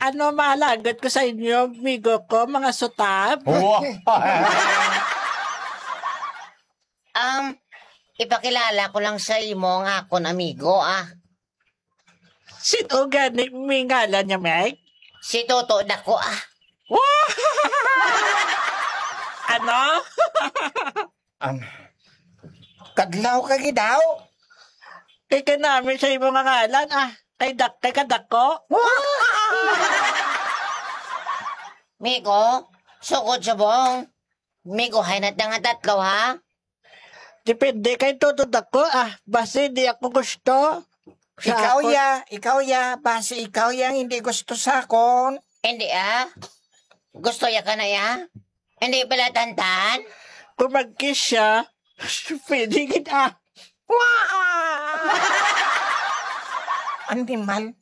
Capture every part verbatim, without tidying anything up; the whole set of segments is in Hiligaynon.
Ano malagot ko sa inyo, amigo ko, mga sutab? Wow. Um, ipakilala ko lang sa imo ang akon amigo, ah. Sino gani may ngalan niya, Meg? Si Toto Dako, ah. Wow! Ano? Ang kadlaw ka gidaw? Kay kanami sa imo nga ngalan, ah. Kay dak-, kay kadako. Migo, sugod subong. Migo, hay na ta nga tatlo, ha? Depende kay Toto Dako, ah. Basi di ako gusto. Sa Ikaw akon. Ya, ikaw ya, basi ikaw ya ang hindi gusto sa akon. Hindi, ah. Gusto ya ka na, ya? Hindi pala tantan? Kung mag-kiss siya, pwede gid, ah. Animal.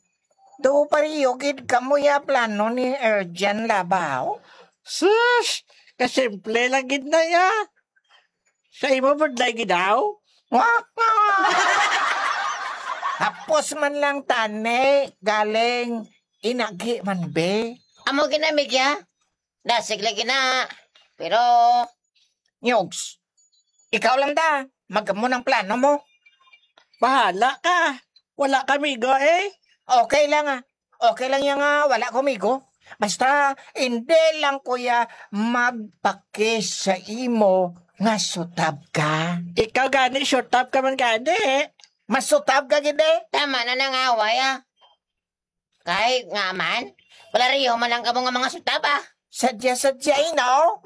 Do pareho gid kamo ya plano ni Erjan Labaw? Sus! Kasimple lang gid na ya. Sa imo budlay gid daw? Hapos man lang tani, galing inagi man be. Amo ginamig ya. Dasig lagi na. Pero, Nyugs, ikaw lang da. Magamo ng plano mo. Bahala ka. Wala ka, migo, eh. Okay lang, ah. Okay lang yan nga wala ko, migo. Basta, hindi lang, kuya, magpakis sa imo nga sutab ka. Ikaw gani, sutab ka man gani, eh. Masutab ka gid, eh. Tama na nang away, ah. Kay nga man, palareho man lang kamo nga mga sutab, ah. Sadya-sadya, eh, no?